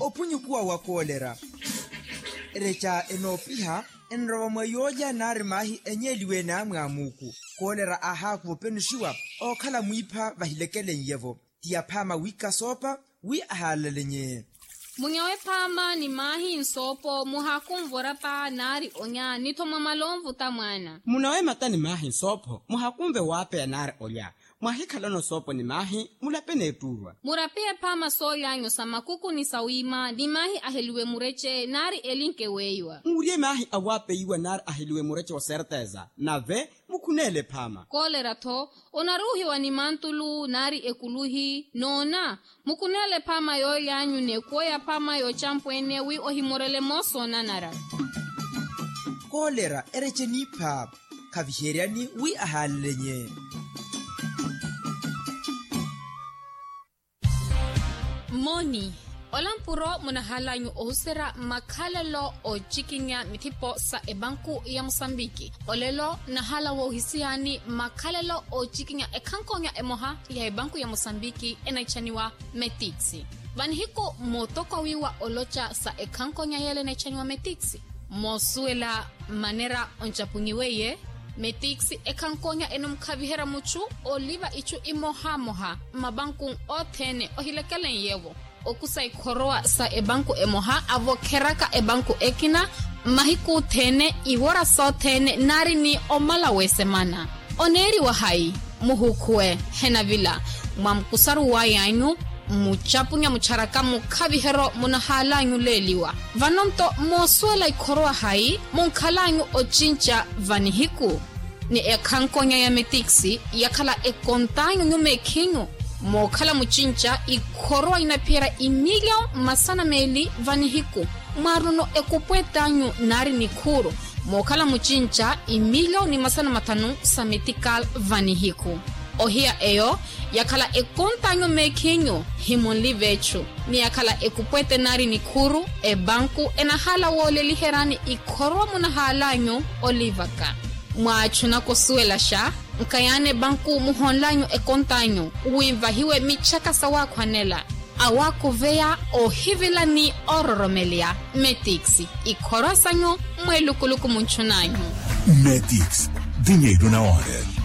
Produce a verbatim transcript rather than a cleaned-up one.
ophunyukuwa wa koolera. Ereca enoopiha enrowa mwa yoolya nari maahi enyeeliwe-ene amwaamuuku. Koolera aahaakuva openuxiwa ookhala mwiipha vahilekelen'ye-vo. Ti aphaama wiika soopa wi ahaalalenye. Munyawe phaama ni maahi nsoopo muhaakunvora paa nari onya nitho mwa malonvuta mwaana. Munawe mata ni maahi nsoopho muhakunve waapeya nari olya. Mwahikhalano soopo ni maahi mulape n'ettuurwa. Murapihe phaama soolyanyu sa makuku ni sawiima ni maahi aheliwe murece nari elinke weiwa. Muurye maahi awaapeyiwa nari aheliwe murece oserteza nave mukhuneele phaama. Koolera-tho onaruuhiwa ni mantulu nari ekuluhi noona. Mukuneele phaama yoolyanyu n'ekuwo ya phaama yoocampweene wi ohimorele moosoonanara. Koolera erece niipha khaviheryani wi ahaalelenye. Moni. Ola mpuro munahaalanyu ohuserya makhalelo oocikinya mithipo sa epanku ya musambiki. Olelo nahaala woohisiyani makhalelo oocikinya ekhankonya emoha ya epanku ya musambiki enaitthaniwa metiksi. Vanihiku mootokwa wiiwa oloca sa ekhankonya yeela enaitthaniwa metiksi. Moosuwela manera oncapunyiweiye metiksi ekhankonya enamukhaviherya muchu oliva ichu imohamoha mmapanku othene ohilekelen'ye-vo. Okusa ikhorowa sa epanku emoha avokheraka epanku ekina mahiku othene iwora sothene nari ni omala w'esemana. Oneeriwa hayi? Muhukhuwe henavila mwa mukusaru way'anyu. Mucapunya mucharaka mukhaviheryo munahaalanyu leeliwa. Vano-nto moosuwela ikhorowa hayi munkhalanyu ocinca vanihiku? Ni ekhankonya ya metiksi yakhala ekont'anyu nyumeekhinyu mookhala mucinca ikhorowa inaphiherya imilyo masana meeli vanihiku. Mwaaruno ekupwett'anyu nari nikhuuru mookhala mucinca imilyo ni masana mathanu sa metikali vanihiku. Ohiya eyo yakhala ekontanyu meekhinyu himunlive echu. Ni yakhala ekupwete nari nikhuuru epanku enahaala wooleliheryani ikhorowa munahaalanyu olivaka. Mwaachunaka osuwelaxa nkayaani epanku muhonlanyu ekontanyu wi nvahiwe michaka sawaakhwanela awaakuveya ohivila ni ororomeleya. Metiksi ikhorowa sanyu mweelukuluku munchunanyu. Metiksi dinheiro na hora.